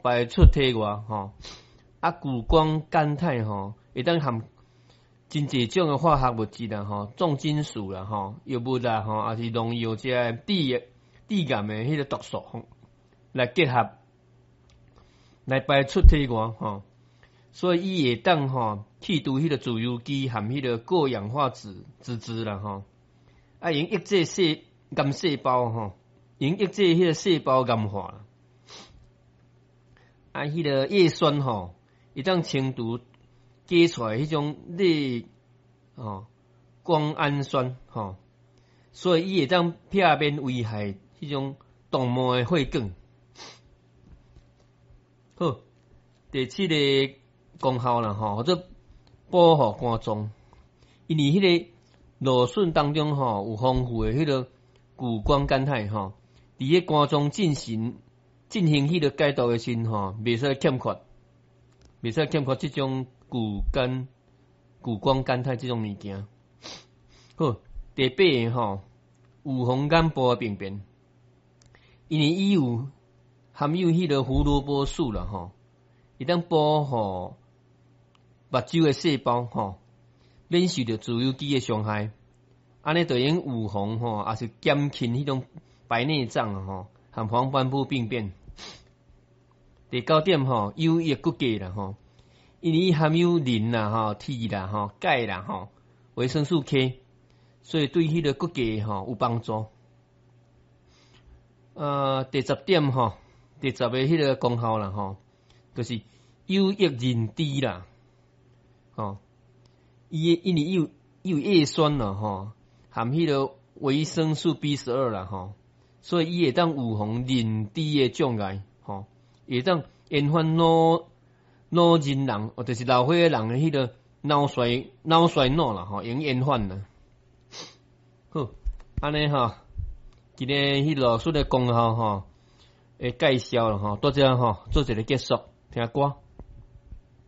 排出體外吼。啊，谷胱甘肽吼，會當含真濟種的化學物質啦吼，重金屬啦吼，藥物啦吼，抑是農藥這个致癌的彼个毒素吼，來結合來排出體外吼。所以伊會當吼去除彼个自由基含彼個過氧化脂脂質啦吼，啊，會用抑制細癌細胞吼，會用抑制彼個細胞癌化。啊，彼個葉酸吼，會當清除加出來彼種類吼胱氨酸吼，所以伊會當避免危害彼種動脈的血管。好，第七个功效啦吼，叫做保護肝臟，因為彼个蘆筍當中吼有豐富的彼个谷胱甘肽吼，佇个肝臟進行彼个解毒的時吼，袂使欠缺這種谷胱甘肽這種物件。好，第八个吼，預防眼部的病變，因為伊有含有彼个胡蘿蔔素啦吼，會當保護目睭的細胞吼，免受著自由基的傷害，按呢就會用預防吼，抑是減輕彼種白內障吼，和黃斑部病變。第九點吼，有益骨骼啦吼，因為伊含有磷啦吼、鐵啦吼、鈣啦吼、維生素 K，所以對彼个骨骼吼有幫助。第十點吼，第十个彼个功效啦吼，就是有益認知啦，吼，伊因為伊有葉酸啦吼，含彼个維生素 B12啦吼，所以伊會當預防認知的障礙吼，會當延緩老年人，或就是老歲仔人的彼个腦衰老啦吼，會用延緩啦。好，按呢吼，今日彼蘆筍的功效吼，會介紹啦吼，到這吼做一个結束，聽歌。